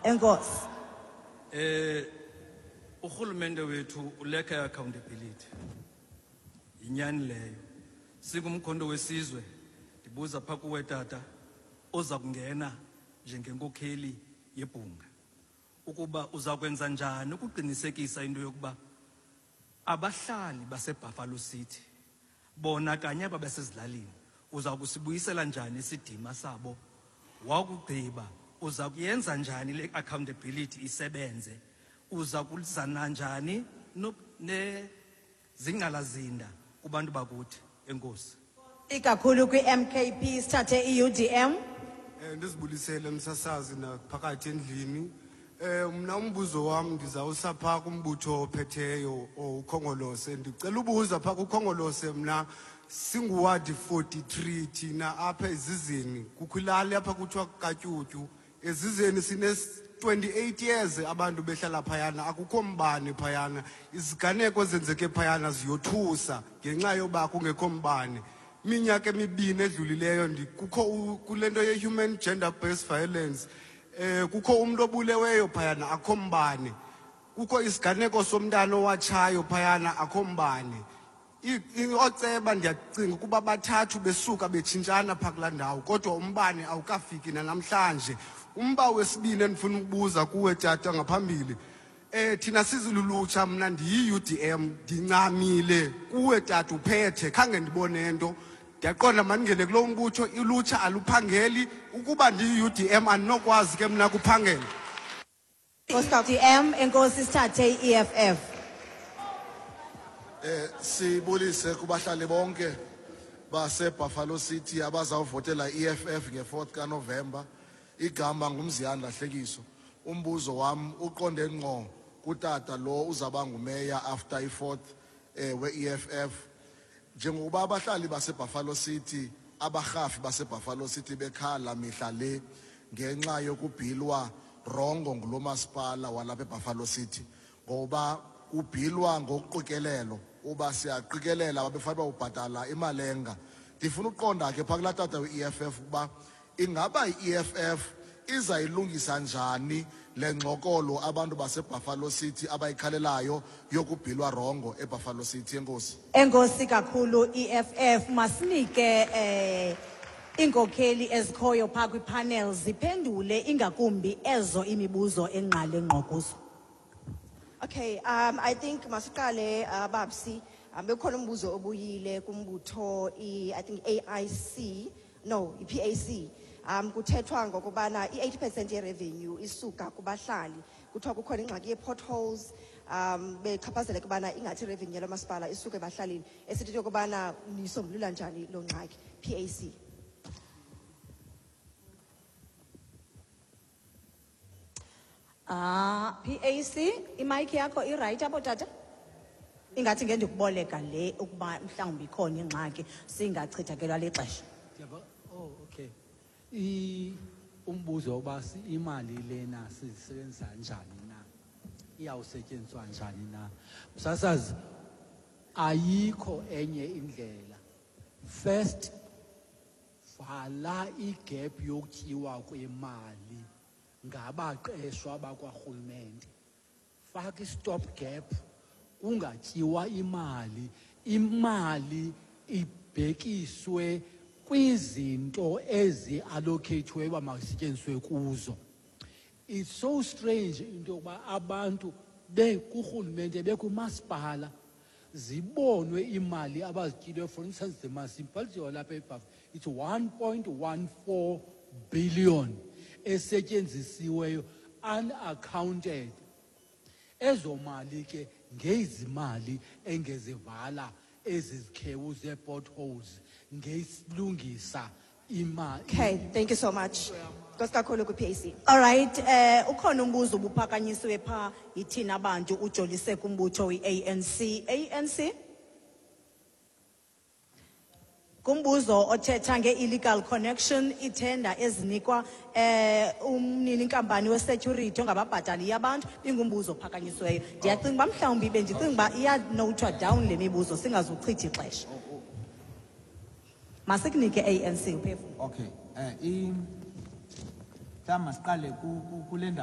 Enkosi. Urhulumente wethu uleka accountability. Yinyani leyo. Singumkhonto wesizwe, ndibuza pha kuwe tata, oza kungena njengenkokheli yebhunga, ukuba uza kwenza njani ukuqinisekisa into yokuba abahlali baseBuffalo City bona kanye aba basezilalini uza kusibuyisela njani isidima sabo? Wakugqiba uza kuyenza njani le accountability isebenze? Uza kuzana njani nezingqalazinda kubantu bakuthi? Enkosi. Ikakhulu kwi-MKP, sithathe i-UDM. Ndizibulisele msasazi naphakathi endlini. Mna umbuzo wam ndizawusa phaa kumbutho ophetheyo uKhongolose. Ndicela ubuza phaa kuKhongolose, mna singuwadi 43 thina apha ezizeni. Kukho ilali apha kuthiwa Katyutyu. Ezizeni sine 28 years abantu behlala phayana, akukho mbane phayana. Iziganeko ezenzeke phayana ziyothusa ngenxa yoba kungekho mbane. Iminyaka emibini edlulileyo kukho kule nto ye-human gender based violence, kukho umuntu obuleweyo phayana, akho mbane. Kukho isiganeko somntana owatshayo phayana, akho mbane. Ooceba ndiyacinga ukuba bathathu besuka betshintshana phaa kulaa ndawo, kodwa umbane awukafiki nanamhlanje. Umba wesibini endifuna ukubuza kuwe tata ngaphambili, thina sizilulutsha, mna ndiyi-UDM, ndincamile kuwe tata uphethe, khange ndibone nto. Ndiyaqonda mandingene kulo mbutho, ulutsha aluphangeli. Ukuba ndiyi-UDM andinokwazi ke mna kuphangela. UDM, enkosi, sithathe i-EFF. Sibulise kubahlali bonke base Buffalo City abazawuvotela EFF nge-4th kaNovember. Igama nguMziyanda Hlekiso. Umbuzo wam uqonde ngqo kutata lo uzaba ngumeya after i-4th we-EFF. Njengokuba abahlali base Buffalo City, abarhafi base Buffalo City bekhala mihla le ngenxa yokubhilwa rongo ngulo masipala walapha eBuffalo City, ngoba kubhilwa ngokuqikelelo, uba siyaqikelela babefanele ubhatala imalenga. Ndifuna ukuqonda ke phaa kulaa tata we-EFF ukuba ingaba i-EFF izayilungisa njani le ngxokolo abantu baseBuffalo City abayikhalelayo yokubhilwa rongo eBuffalo City. Enkosi. Enkosi kakhulu EFF. Masinike iinkokheli ezikhoyo phaa kwipanel ziphendule ingakumbi ezo imibuzo engqale ngqo kuzo. Okay, I think masiqale, Babsi. Bekukhona umbuzo obuyile kumbutho I think AIC, no, i-PAC. Kuthethwa ngokubana i-80% ye-revenue isuka kubahlali. Kuthiwa kukhona ingxaki ye-potholes, bechaphazeleka ubana ingathi i-revenue yalo masipala isuka ebahlalini. Esithi yokubana nisombulula njani loo ngxaki? PAC. PAC, imic yakho i-right apho tata? Ingathi ngendikuboleka le ukuba mhlawumbi ikhona ingxaki singachithakelwa lixesha. Ndiyava. Oh, okay. Umbuzo woba imali lena sizisebenzisa njani na? Iyawusetyenziswa njani na? Msasazi, ayikho enye indlela. First, vala igap yokutyiwa kwemali ngabaqeshwa bakwarhulumente. Faka i-stop gap, kungatyiwa imali. Imali ibhekiswe kwizinto ezi-allocate-iweyo uba mazisetyenziswe kuzo. It's so strange into yokuba abantu bekurhulumente, bekumasipala, zibonwe imali abazityileyo. For instance, the municipality walapha eBuffalo, it's 1.14 billion esetyenzisiweyo unaccounted. Ezo mali ke ngezimali engezivala ezi zikhewu zee-potholes, ngesilungisa imali. Okay, thank you so much. Nkosi kakhulu kwi-PAC. All right, ukhona umbuzo obuphakanyisiwe pha yithina abantu ujolise kumbutho i-ANC. ANC? Kumbuzo othetha nge-illegal connection, ithenda ezinikwa umnini inkampani we-security ongababhatali abantu, ingumbuzo ophakanyisiweyo. Ndiyacinga uba mhlawumbi bendicinga uba iyanotwa down le mibuzo singazuchitha ixesha. Masikunike ANC uphefumlo. Okay, mhlawumbi masiqale kule ndawo.